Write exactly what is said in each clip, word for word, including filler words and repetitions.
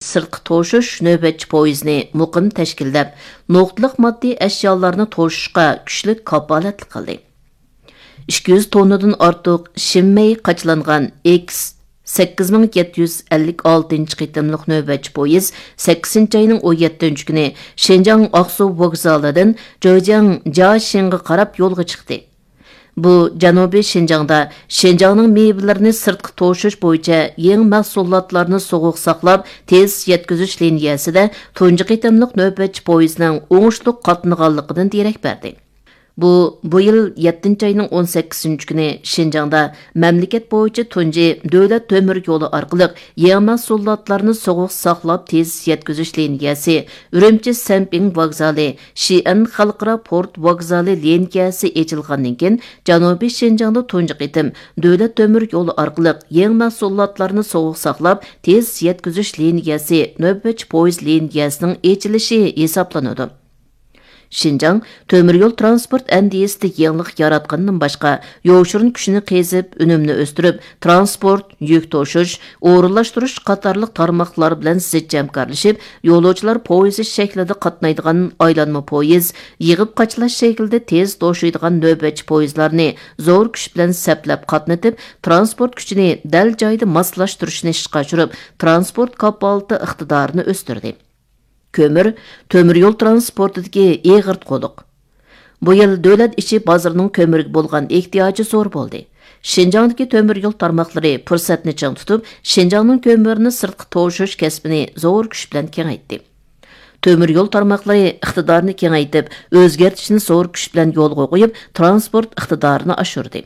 سىرتقا توشۇش نۆۋەتچى پويىزىنى مۇقىم تەشكىللەپ، نۇقتىلىق ماددىي ئەشيالارنى توشۇشقا كۈچلۈك كاپالەتلىك قىلدى. ئىككى يۈز توننىدىن ئارتۇق شىنمەي قاچىلانغان ئېكس سەككىز مىڭ يەتتە يۈز ئەللىك ئالتىنچى قېتىملىق نۆۋەتچى پويىز سەككىزىنچى ئاينىڭ ئون يەتتىنچى كۈنى شىنجاڭ ئاقسۇ ۋوگزالىدىن جېجياڭ جياشىڭغا قاراپ يولغا چىقتى. بۇ جەنۇبىي شىنجاڭدا شىنجاڭنىڭ مېۋىلىرىنى سىرتقا توشۇش بويىچە يېڭى مەھسۇلاتلارنى سوغۇق ساقلاپ، تېز يەتكۈزۈش لىنىيەسىدە تۇنجى قېتىملىق نۆۋەتچى پويىزنىڭ ئوڭۇشلۇق قاتنىغانلىقىدىن دېرەك بەردى. بۇ، بۇ يىل يەتتىنچى ئاينىڭ ئون سەككىزىنچى كۈنى شىنجاڭدا مەملىكەت بويىچە تۇنجى دۆلەت تۆمۈر يولى ئارقىلىق يېڭى مەھسۇلاتلارنى سوغۇق ساقلاپ تېز يەتكۈزۈش لىنىيەسى، ئۈرۈمچى سەنپىڭ ۋوگزالى، شىئەن خەلقئارا پورت ۋوگزالى لىنىيەسى ئېچىلغاندىن كېيىن، جەنۇبىي شىنجاڭدا تۇنجى قېتىم دۆلەت تۆمۈر يولى ئارقىلىق يېڭى مەھسۇلاتلارنى سوغۇق ساقلاپ تېز يەتكۈزۈش لىنىيەسى، نۆۋەتچى پويىز لىنىيەسىنىڭ ئېچىلىشى ھېسابلىنىدۇ. شىنجاڭ تۆمۈر يول تىرانسپورت ئەندىزىسىدە يېڭىلىق ياراتقاندىن باشقا، يوشۇرۇن كۈچنى قېزىپ، ئۈنۈمنى ئۆستۈرۈپ، تىرانسپورت، يۈك توشۇش، ئورۇنلاشتۇرۇش قاتارلىق تارماقلار بىلەن زىچ ھەمكارلىشىپ، يولۇچىلار پويىزى شەكلىدە قاتنايدىغان ئايلانما پويىز، يىغىپ قاچىلاش شەكلىدە تېز توشۇيدىغان نۆۋەتچى پويىزلارنى زور كۈچ بىلەن سەپلەپ قاتنىتىپ، تىرانسپورت كۈچىنى دەل جايىدا ماسلاشتۇرۇشنى ئىشقا ئاشۇرۇپ، تىرانسپورت كاپالىتى ئىقتىدارىنى ئۆستۈردى. كۆمۈر، تۆمۈر يول تىرانسپورتىدىكى ئېغىر قۇدۇق. بۇ يىل دۆلەت ئىچى بازىرىنىڭ كۆمۈرگە بولغان ئېھتىياجى زور بولدى. شىنجاڭدىكى تۆمۈر يول تارماقلىرى پۇرسەتنى چىڭ تۇتۇپ، شىنجاڭنىڭ كۆمۈرىنى سىرتقا توشۇش كەسپىنى زور كۈچ بىلەن كېڭەيتتى. تۆمۈر يول تارماقلىرى ئىقتىدارنى كېڭەيتىپ، ئۆزگەرتىشنى زور كۈچ بىلەن يولغا قويۇپ، تىرانسپورت ئىقتىدارىنى ئاشۇردى.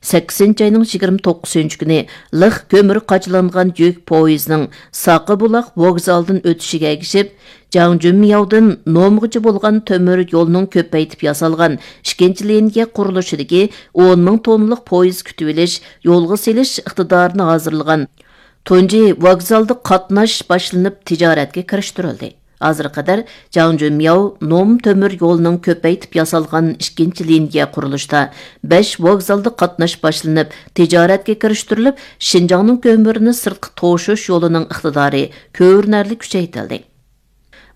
سەككىزىنچى ئاينىڭ يىگىرمە توققۇزىنچى كۈنى لىق كۆمۈر قاچىلانغان يۈك پويىزىنىڭ ساقىبۇلاق ۋوگزالىدىن ئۆتۈشىگە ئەگىشىپ، جاڭجۈنمياۋدىن نومغىچە بولغان تۆمۈر يولنىڭ كۆپەيتىپ ياسالغان ئىككىنچى لىنىيە قۇرۇلۇشىدىكى ئون مىڭ توننىلىق پويىز كۈتۈۋېلىش، يولغا سېلىش ئىقتىدارىنى ھازىرلىغان تۇنجى ۋوگزالدا قاتناش باشلىنىپ تىجارەتكە كىرىشتۈرۈلدى. ھازىرغا قەدەر جاڭجۈنمياۋ نوم تۆمۈر يولىنىڭ كۆپەيتىپ ياسالغان ئىككىنچى لىنىيە قۇرۇلۇشىدا بەش ۋوگزالدا قاتناش باشلىنىپ، تىجارەتكە كىرىشتۈرۈلۈپ، شىنجاڭنىڭ كۆمۈرىنى سىرتقا توشۇش يولىنىڭ ئىقتىدارى كۆرۈنەرلىك كۈچەيتىلدى.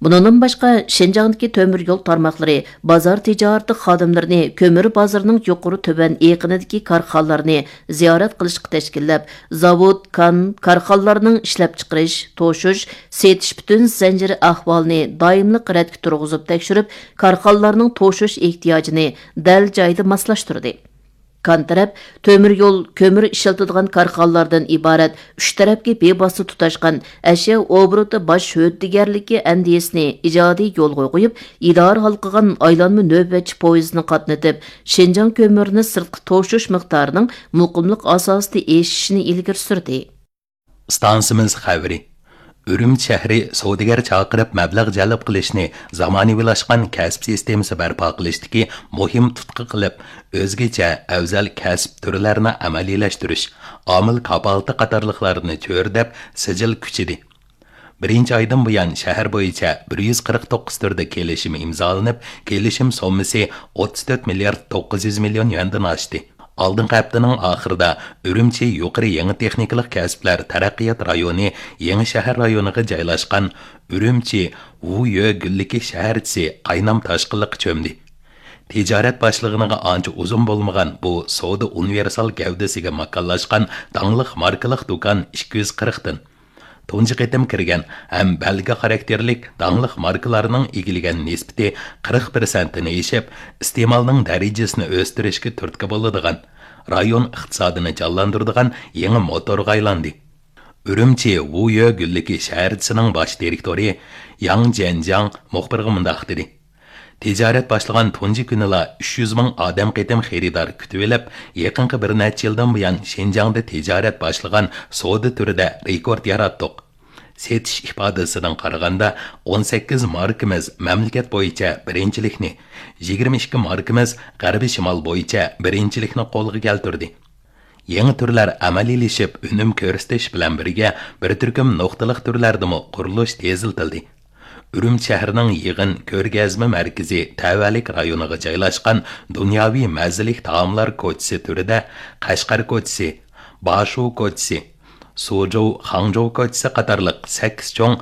بۇنىڭدىن باشقا، شىنجاڭدىكى تۆمۈر يول تارماقلىرى بازار تىجارىتى خادىملىرىنى كۆمۈر بازىرىنىڭ يۇقىرى تۆۋەن ئېقىنىدىكى كارخانىلارنى زىيارەت قىلىشقا تەشكىللەپ، زاۋۇت، كان، كارخانىلارنىڭ ئىشلەپچىقىرىش، توشۇش، سېتىش پۈتۈن زەنجىرى ئەھۋالىنى دائىملىق رەتكە تۇرغۇزۇپ تەكشۈرۈپ، كارخانىلارنىڭ توشۇش ئېھتىياجىنى دەل جايىدا ماسلاشتۇردى. كان تەرەپ تۆمۈر يول، كۆمۈر ئىشلىتىدىغان كارخانىلاردىن ئىبارەت ئۈچ تەرەپكە بىۋاسىتە تۇتاشقان ئەشيا ئوبوروتى باش ھۆددىگەرلىكى ئەندىزىسىنى ئىجادىي يولغا قويۇپ، ئىدارە ھالقىغان ئايلانما نۆۋەتچى پويىزىنى قاتنىتىپ، شىنجاڭ كۆمۈرىنى سىرتقا توشۇش مىقدارىنىڭ مۇقىملىق ئاساسىدا ئېشىشىنى ئىلگىرى سۈردى. ئىستانسىمىز خەۋىرى. ئۈرۈمچى شەھىرى سودىگەر چاقىرىپ مەبلەغ جەلپ قىلىشنى زامانىۋىلاشقان كەسىپ سىستېمىسى بەرپا قىلىشتىكى مۇھىم تۇتقا قىلىپ، ئۆزگىچە ئەۋزەل كەسىپ تۈرلەرنى ئەمەلىيلەشتۈرۈش، ئامىل كاپالىتى قاتارلىقلارنى چۆرىدەپ سىجىل كۈچىدى. بىرىنچى ئايدىن بۇيان شەھەر بويىچە بىر يۈز قىرىق توققۇز تۈردە كېلىشىم ئىمزالىنىپ، كېلىشىم سوممىسى ئوتتۇز تۆت مىليارد توققۇز يۈز مىليون يۈەندىن ئاشتى. ئالدىنقى ھەپتىنىڭ ئاخىرىدا ئۈرۈمچى يۇقىرى يېڭى تېخنىكىلىق كەسىپلەر تەرەققىيات رايونى يېڭى شەھەر رايونىغا جايلاشقان ئۈرۈمچى ۋۇيۆ گۈللۈكى شەھەرچىسى قاينام تاشقىنلىققا چۆمدى. تىجارەت باشلىغىنىغا ئانچە ئۇزۇن بولمىغان بۇ سودا ئۇنىۋېرسال گەۋدىسىگە ماكانلاشقان داڭلىق ماركىلىق دۇكان ئىككى يۈز قىرىقتىن تۇنجى قېتىم كىرگەن ھەم بەلگە خاراكتېرلىك داڭلىق ماركىلارنىڭ ئىگىلىگەن نىسبىتى قىرىق پىرسەنتتىن ئېشىپ، ئىستېمالنىڭ دەرىجىسىنى ئۆستۈرۈشكە تۈرتكە بولىدىغان، رايون ئىقتىسادىنى جانلاندۇرىدىغان يېڭى موتورغا ئايلاندى. ئۈرۈمچى ۋۇيۆ گۈللۈكى شەھەرچىسىنىڭ باش دىرېكتورى ياڭ جيەنجياڭ مۇخبىرغا مۇنداق دېدى. تىجارەت باشلىغان تۇنجى كۈنىلا ئۈچ يۈز مىڭ ئادەم قېتىم خېرىدار كۈتۈۋېلىپ، يېقىنقى بىر نەچچە يىلدىن بۇيان شىنجاڭدا تىجارەت باشلىغان سودا تۈرىدە رېكورت ياراتتۇق. سېتىش ئىپادىسىدىن قارىغاندا، ئون سەككىز ماركىمىز مەملىكەت بويىچە بىرىنچىلىكنى، يىگىرمە ئىككى ماركىمىز غەربىي شىمال بويىچە بىرىنچىلىكنى قولغا كەلتۈردى. يېڭى تۈرلەر ئەمەلىيلىشىپ، ئۈنۈم كۆرسىتىش بىلەن بىرگە، بىر تۈركۈم نۇقتىلىق تۈرلەردىمۇ قۇرۇلۇش تېزلىتىلدى. ئۈرۈمچى شەھىرىنىڭ يىغىن كۆرگەزمە مەركىزى تەۋەلىك رايونىغا جايلاشقان دۇنياۋى مەززىلىك تائاملار كوچىسى تۈرىدە قەشقەر كوچىسى، باشۇ كوچىسى، سۇجۇ، خاڭجۇ كوچىسى قاتارلىق سەككىز چوڭ